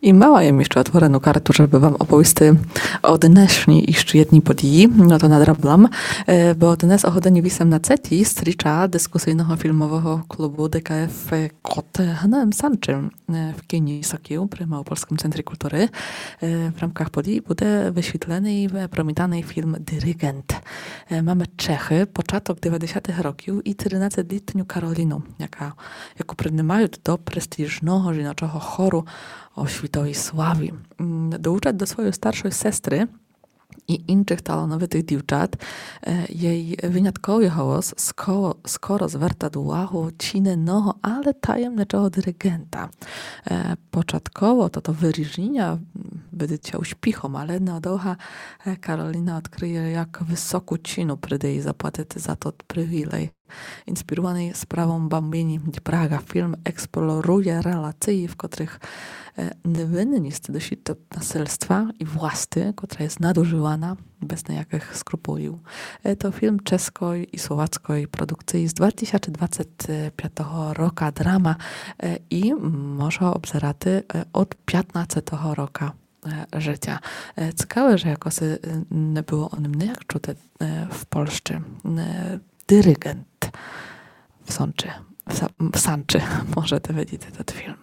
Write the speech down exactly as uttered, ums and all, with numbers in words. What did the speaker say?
И мала єм іщы отворену карту, жебы вам оповісти о днешній іщы єдній подіі, но то надраблам, е, бо днес о годині вісемнадцетій стріча дискусийного філмового клубу Д К Ф Котгнем Санчым, е, в кіні Сокіл при Малопольскым центрі културы, е, в рамках подіі буде высвітленый, е, премієрный філм Диригент. Е, маме Чехы, початок девятдесятых років и тринадцетлітню Кароліну, яка, яку принимают до престіжного жіночого хору о світовій славі. М, долучат до своєй старшой сестры и іншых талановитых дівчат. Е, єй вынятковый голос скоро, скоро звертат увагу чинного, але таємничого диригента. Е, початково тото выріжіня, м, выдат ся успіхом, але недовга, е, Кароліна одкрыє, як высоку ціну прийде єй заплатити за тот привілей. Інспірованый справом Бамбіні ді Прага філм експлорує релациі, в котрых, е, невинні сты дышат насильства и власти, котра єст надужывана без ниякых скрупулів. Е, то філм ческой и словацкой продукциі з два тисячы двадцет пятого рока, драма, е, и може го обзерати, е, од пятнадцетого рока, е, жытя. Е, цікаве, же якоси, е, не было о ним ніяк чути, е, в Польщы. Е, Диригент в Сончы, в Са-, в Санчы, можете видіти тот філм.